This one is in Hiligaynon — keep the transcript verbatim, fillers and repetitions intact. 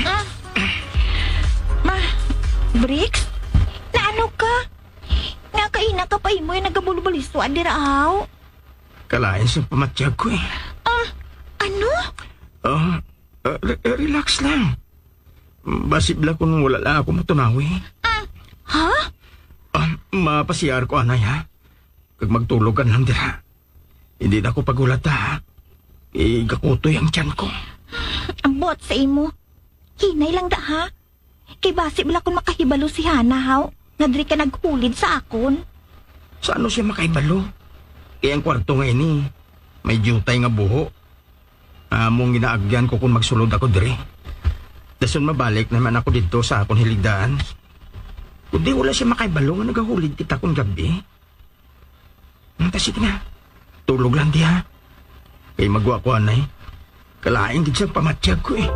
Ah. Ma, Bricks, naano ka? Nga kaina ka pa imo yung nagabulbaliswa dira, aw? Kalain sa pamatyag ko eh. Ah, ano? Ah, ah, re- eh, relax lang. Basi bala kung wala lang ako matunawi. Ah, ha? Ah, mapasiyar ko, anay, ha? Kag magtulog ka lang dira. Hindi na ako pagulata, ha? Igakutoy ang tiyan ko. Ang buot sa imo. Hinay lang da, ha? Kay basi bala kung makahibalo si Hana, haw, nga diri ka naghulid sa akon. Sa ano siya makahibalo? Kay ang kwarto nga ini, may diutay nga buho. Among ginaagyan ko kung magsulod ako diri. Dason mabalik naman ako didto sa akon hiligdaan. Kundi wala siya makahibalo nga nagahulid kita kung gabi. Ang ta, sige na. Tulog lang diha. Kay magwa ko anay. Kalain gid sa pamatyag ko eh.